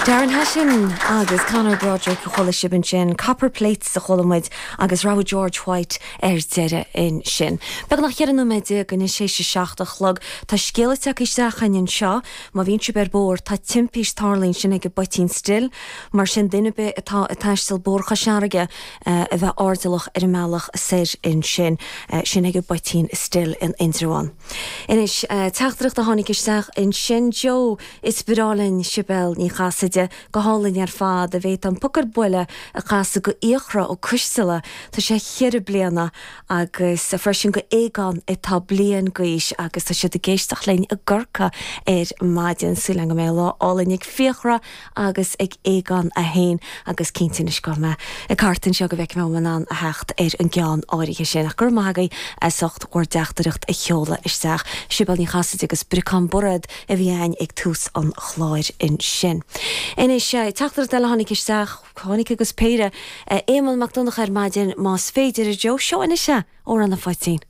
Darren Hession agus Conor Broderick a chuala sibh ansin, Copper Plates a chuala muid agus rogha George White ar deireadh ansin. Beagnach 14 nóiméad anois théis a 7 a chlog. Tá scéala tagtha isteach chugainn anseo, má bhíonn sibh ar bóthar, tá timpist tarlaithe ansin ag an bPoitín Stil, mar sin duine ar bith atá ag taisteal Bóthar Chois Fharraige a bheith airdeallach ar an mbealach soir ansin, sin ag an bPoitín Stil in Indreabhán. Anois, teachtaireacht a tháinig isteach ansin, Joe, Is breá linn Sibéal Ní Chasaide, go hálainn ar fad, an bhféadfá An Poc ar Buile a chasadh go Fhiachra Ó Coisteala, tá sé cheithre bliana, agus freisin go Aogán atá bliain d'aois agus tá siad ag éisteacht linn i gCorcaigh ar maidin. Súil agam go mbeidh lá álainn ag Fiachra agus ag Aogán é féin agus cinnte anois gabhfaidh mé ag thart anseo go bhfeicfidh mé an bhfuil mé in ann a theacht ar an gceann áirithe sin. Ach go raibh maith agaibh as ucht bhur dteachtaireacht a sheoladh isteach. Sibéal Ní Chasaide agus Briocán Bairéad a bhí againn ag tús an chláir ansin. Anois, teachtaireacht eile a tháinig isteach, tháinig agus péire, Éamonn Mac Donncha ar maidin, más féidir, a Joe, seo anois é, Amhrán an Phoitín.